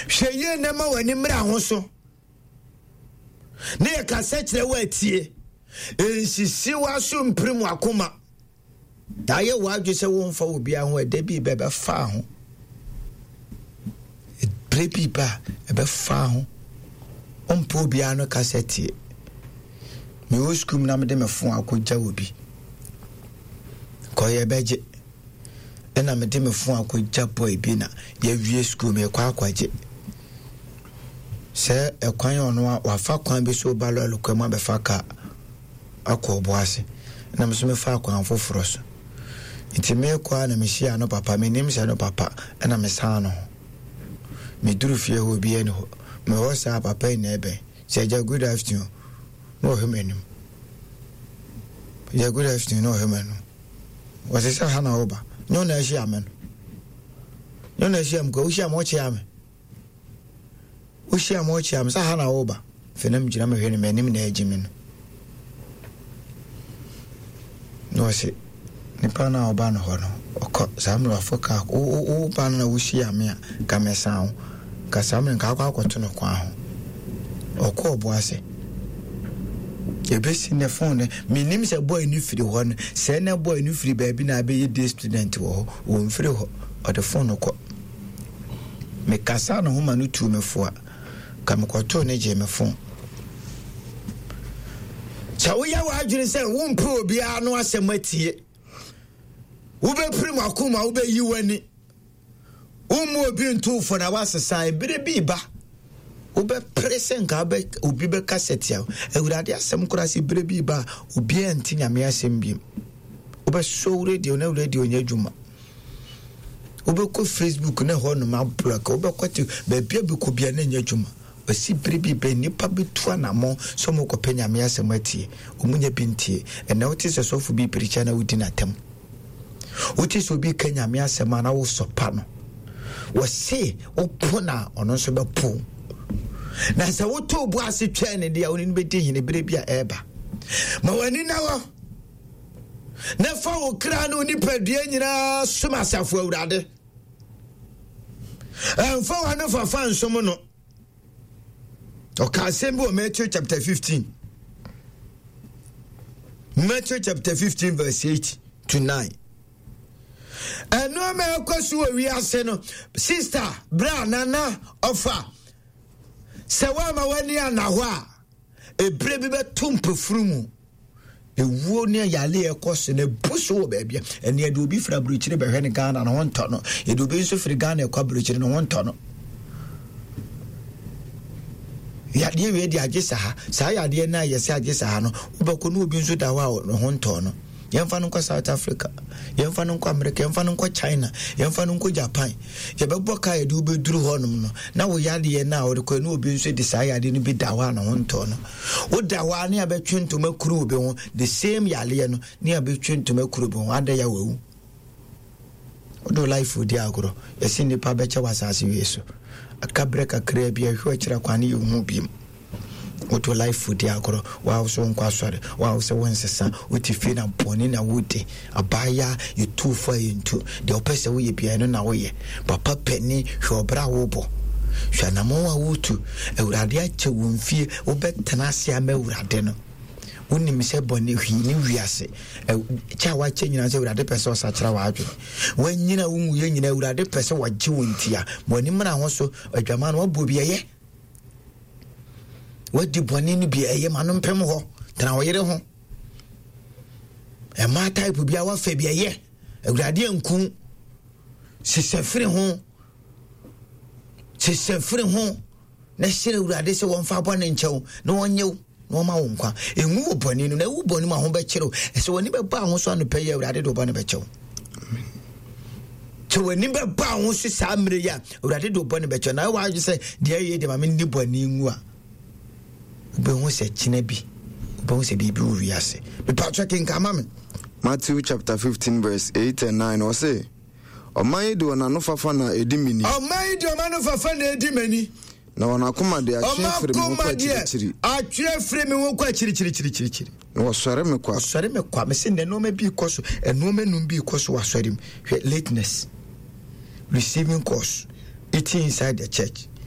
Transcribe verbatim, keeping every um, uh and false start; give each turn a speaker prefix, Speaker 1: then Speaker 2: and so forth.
Speaker 1: Hwɛ yie na ma w'ani mmra ho so ne yɛkasa kyerɛ wo atie. Nsisi w'aso mpirim w'akoma na ayɛ w'adwe sɛ womfa wɔ biara ho. Ɛda bi ba ɛbɛfa ho, berɛ bi ba ɛbɛfa ho. Wompɛ obiara no kasa tie. Mewɔ sukuu mu na mede me fon akɔgya wɔ bi kɔyɛ bɛgye, ɛna mede me fon akɔgya boy bi na yɛwie sukuu, mekɔ akɔgye sɛ ɛkwan ɔno a wafa kwan bi so ba lɔɔre kwan mu abɛfa kaa akɔ ɔbo ase, na me nso mefa kwan foforɔ so. Nti mekɔ a na mehyia no papa, menim sɛ no papa, ɛna mesan no ho. Meduru fie hɔ, obiara ni hɔ. Mewɔ saa papa yi na ɛbɛn sɛ, "Agya, good afternoon," na ɔhwɛ m'anim. "Agya, good afternoon," na ɔhwɛ m'anim. Wɔsɛ sɛ ha na woba nyɛ ɔna ahyia me no, nyɛ ɔna ahyia me kɔ. Wohyia me, ɔkyea me, wohyia me, ɔkyea me sɛ ha na woba. Afei na megyina mehwɛ no, m'anim na agye me no, na ɔse nipa no a ɔba no hɔ no ɔkɔ saa mmerɛ wafɔ kaa. Woba no na wohyia me a ka mesan wo ka saa mmerɛ nka akɔ akɔto no kwan ho. Ɔkɔ ɔbo ase ɛbɛsi ne phone no. Menim sɛ boy no firi hɔ no, sɛ na boy no firi baabi na abɛyɛ day student wɔ hɔ. Wɔmfiri hɔ, ɔde phone no kɔ. Mekasa ne ho ma no tuu me fo a ka mekɔtoo ne gye me phone. Sɛ woyɛ w'adwene sɛ wompɛ obiara no asɛm atie, wobɛpiri mu akoma, wobɛyi w'ani, wommu obi ntofo na woasesa. Ebere bi ba wobɛpere sɛ nka obi bɛka sɛ tia Awurade asɛm koraa sɛ berɛ bi ba a obiara nte Nyame asɛm biom. Wobɛsɔ wo radio na radio nyɛ adwuma. Wobɛkɔ Facebook na ɛhɔ nom abraka. Wobɛkɔ te baabi a bɛkɔ bia na nyɛ adwuma. Ɔsi bere bi bɛ nnipa bɛtu anammɔn sɛ ɔmokɔpɛ Nyame asɛm atie, ɔmu nya bi ntie. Ɛnɛ wote sɛ sɔfo bi pirikya na wodi n'atam. Wote sɛ obi ka Nyame asɛm a na wosɔpa no. Wɔse wopo na ɔno nso bɛpo, na sɛ wotoo bo ase twɛn ne deɛ a wone no bɛdi hene berɛ bi a ɛreba. Ma w'ani na hɔ na fa wo kra ne wo nipadua nyinaa som asafo Awurade. Ɛmfa w'ano fafa nsom no. Ɔka asɛm bi wɔ Matthew chapter fifteen, Matthew chapter fifteen verse eight to nine. Ɛnneɛma ɛkɔ so wɔ wiase no, sister, bra nana ɔfa sɛ woama w'ani ana hɔ a, ebire bi bɛto mpɛfuru mu. Ewuo ne yale ɛkɔ so na ebu so wɔ baabi a ɛne yɛde obi firi aburokyire bɛhwɛ ne Ghana ne ho ntɔ no, yɛde obi nso firi Ghana ɛkɔ aburokyire ne ho ntɔ no. Yadeɛ wei de agye saa saa yadeɛ no a yɛsɛ agye saa no, wobɛkɔ ne obi nso da hɔ a ne ho ntɔ no. Yɛmfa no nkɔ South Africa, yɛmfa no nkɔ America, yɛmfa no nkɔ China, yɛmfa no nkɔ Japan. Yɛbɛbɔ kaa yɛde wobɛduru hɔnom no na wo yadeɛ no a wɔde kɔ ne obi nso de saa yadeɛ no bi da hɔ a ne ho ntɔ no. Woda hɔ a ne abɛtwe ntoma kuru obi ho, the same yadeɛ no ne abɛtwe ntoma kuru obi ho ada yɛ wawu. Wode life di agorɔ. Yɛse nnipa bɛkyɛ wɔ asase wie so, aka berɛ kakraa bi ahwɛ akyirɛ kwan ne yɛhu biom. Wode life di agorɔ. Wawo sɛ wonkɔ asɔre, wawo sɛ wonsesa, wote fie na bɔne na wodi. Abaaya yɛtu fo a yɛntu deɛ wopɛ sɛ woyɛ biara no na woyɛ. Papa pani, hwɛ ɔbrɛ a wobɔ, hwɛ anammɔn a wotu. Awurade akyɛ wo mfie, wobɛtena ase ama Awurade no. Wonim sɛ bɔne hwii ne wiase kyɛ a wakyɛ nyinaa sɛ Awurade pɛ sɛ ɔsakyera w'adwene. Wanyina wo nwuyɛ nyina, Awurade pɛ sɛ wɔgye wo ntia ma w'ani mmra ho so. Adwama no wabɔ bi ɛyɛ, wadi bɔne no bi ɛyɛ, ma no mpem hɔ. Tena wo yere ho. Ɛma type bi a wafa bi ɛyɛ, Awurade anku. Sesɛ firi ho, sesɛ firi ho na hyerɛ Awurade sɛ wɔmfa bɔne nkyɛw na wɔnyɛ wo na wɔma wo nkwa. Ɛngu wɔ bɔne no na ɛwu bɔne mu a ho bɛkyerɛw. Ɛsɛ w'ani bɛba ho so anɔpɛ yi, Awurade de wo bɔne bɛkyɛw. Sɛ w'ani bɛba ho so saa mmerɛ yi a, Awurade de wo bɔne bɛkyɛw. Na ɛwɔ adwe sɛ deɛ ɛyɛ deɛ ma menni bɔne ngu a, wobɛhu sɛ kyena bi wobɛhu sɛ biribi wɔ wiase. Mepatwɛ kenka ma me.
Speaker 2: Matthew chapter fifteen verse eight and nine, ɔse, "Ɔman yi de wɔn ano fafa na ɛdi m'ani."
Speaker 1: Ɔman yi de ɔman no fafa na ɛdi m'ani.
Speaker 2: Na wɔn akoma de atwe afiri me ho kɔ akyirikyiri.
Speaker 1: Atwe afiri me ho kɔ akyirikyirikyirikyiri.
Speaker 2: Na wɔsɔre me kwa.
Speaker 1: Wɔsɔre me kwa. Mese nnɛ nneɛma bi kɔ so, nneɛma num bi kɔ so wɔ asɔre mu. Hwɛ, lateness, receiving calls, eating inside the church,